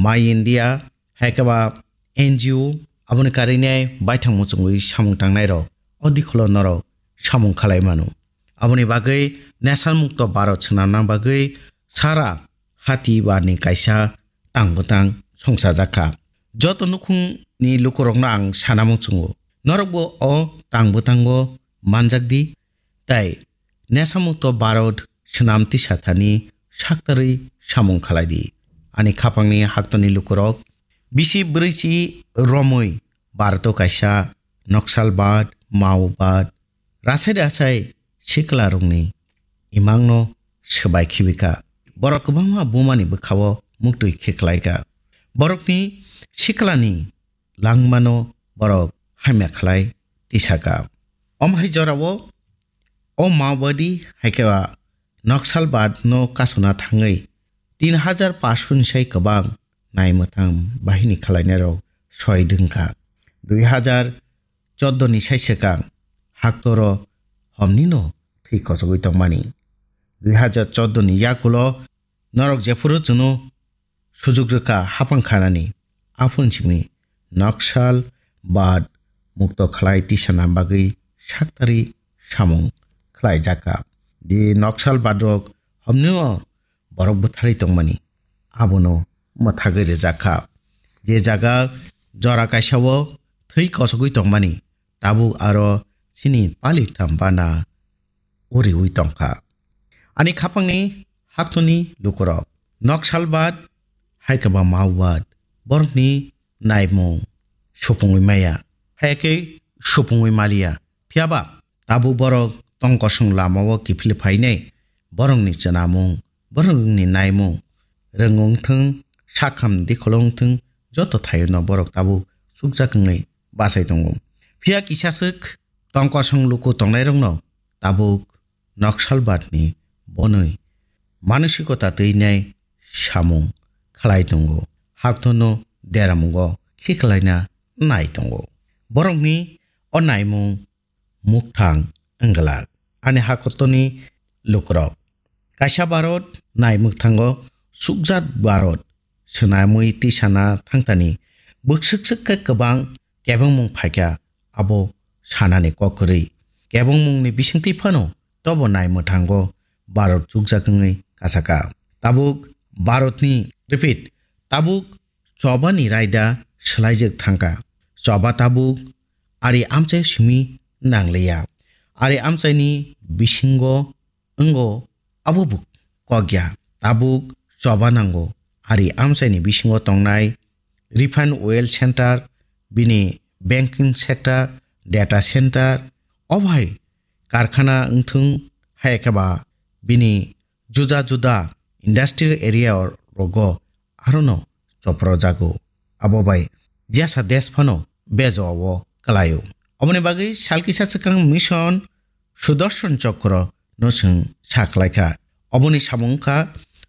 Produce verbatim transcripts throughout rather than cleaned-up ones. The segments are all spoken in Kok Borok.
My India, hai khe ba N G O, aboni karwi nai baithang muchungwi samung tangnai rok o dikhulo norok samung khalai mano. Aboni bagwi Nesa Mukto Bharat swnamna bagwi sara hati barni kaisa tang bwtang songchajak kha. Joto nukhungni lukurokno ang sana muchungo, norokbo o tang bwtango manjak di, tei Nesa Mukto Bharat swnam tisa thani saktarwi samung khalai di. Ani khapangni haktoni lukurok bisi bwrwichi romwi Bharato kaisa Naxalbad, Maobad, rasai rasai siklarokni imangno swbai khibika. Borok kwbangma bumani bwkhao muktwi khiklaika. Borokni siklani langmano borok hamya khlai tisaka. Om hai jorao o Maobadi hai khe ba Naxalbad no kasuna thangwi tin hajar paanch sho ni sai kwbang naimwthang bahini khlainairok soi dwngkha. Dui hajar chordo ni sai swkang haktoro homnino thwi kochogwi tongmani. Dui hajar chordo ni yakulo norok jephuru chwngno sujuk rwkha hapang khanani, aphuru simi Naxalbad mukto khlai tisana bagwi saktarwi samung khlaijakha. Je Naxalbad rok homnio borok bwtharwi tongmani, abono mwthagwi rwjakha. Je jaga jora kaisao thwi kochogwi tongmani, tabuk aro chini palik tham bana uriwi tongkha. Ani khapangni haktoni lukurok Naxalbad hai khe ba Maobad borokni naimung supungwi maya, hai khe supungwi maliya. Phiyaba tabuk borok tongkosong lamao kiphil phainai, borokni chwnamung, borokni naimung, rwngwng thung, sakham dikholo wng thung, joto thaiono borok tabuk chukjak wngwi bachai tongo. Phiya kisaswk tongkosong luku tongnairokno tabuk Naxalbadni bonwi manosikota twinai samung khlai tongo, haktono deramungo khiklaina nai tongo. Borokni o naimung mukthang wngwlak. Ani hakotoni lukurok kaisa Bharat nai mwkthango sukjak Bharat swnamwi tisana thangtani bwswk swk khe kwbang kebengmung phaikha, abo sanani kok kwrwi. Kebengmungni bisingtwi phano tobo nai mwthango Bharat chukjak wngwi kasaka. Tabuk Bharatni, repeat, tabuk chobani raida swlaijak thangkha. Choba tabuk ari amchai simi nangliya. Ari amchaini bisingo wngo, abo bo kokya. Tabuk choba nango. Ari amchaini bisingo tongnai refine oil center, bini banking sector, data center, o bai karkhana wngthung, hai khe ba bini juda juda industrial area rogo arono chopro jago. Abo bai jesa desh phano bejo o kwlaio. Oboni bagwi sal kisa swkang mission Sudarshan Chakra no chwng sa khlaikha. Oboni samung wngkha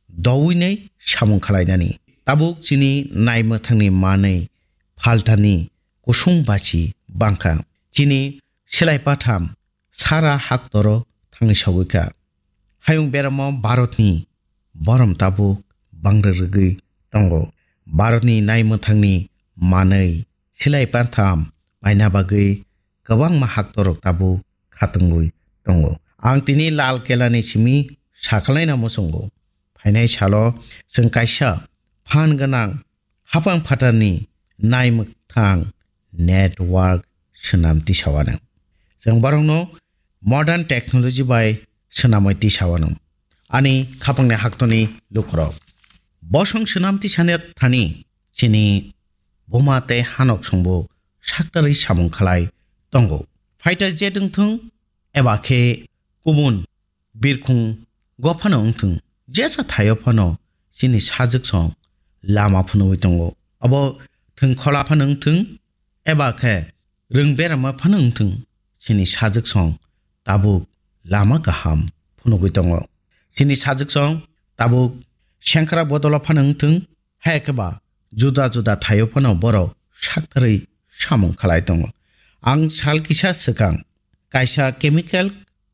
dowinai samung khlainani. Tabuk chini nai mwthangni manwi phaltani kusung bachi bangkha. Chini silai patham sara haktoro thangwi sogwi kha. Hayung beramo Bharatni borom tabuk bangri rwgwi tongo. Bharatni nai mwthangni manwi silai patham paina bagwi kwbangma haktorok tabuk khatungwi tongo. Ang tini Lal Kelani simi sakalaina muchungo. Phainai salo chwng kaisa phan gwnang hapang phatarni nai mwthang network swnam tisawano. Chwng borokno modern technology bai swnamwi tisawano. Ani khapangni haktoni lukurok. Bosong swnam tisani thani chini buma tei hanok songbo saktarwi samung khlai tongo. Fighter jet wngthung eba khe kubun birkhung go phano wngthung, jesa thaio phano chini sajwk song lama phunugwi tongo. Abo thwng khola phano wngthung, eba khe rwng berama phano wngthung, chini sajwk song tabuk lama kaham phunugwi tongo. Chini sajwk song tabuk sengkrak bodolo phano wngthung, hai khe ba juda juda thaio phano borok saktarwi samung khlai tongo. Ang sal kisa swkang kaisa chemical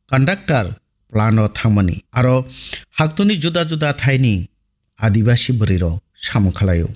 conductor plant o thangmani, aro haktoni juda juda thaini adibasi bwrwirok samung khlaio.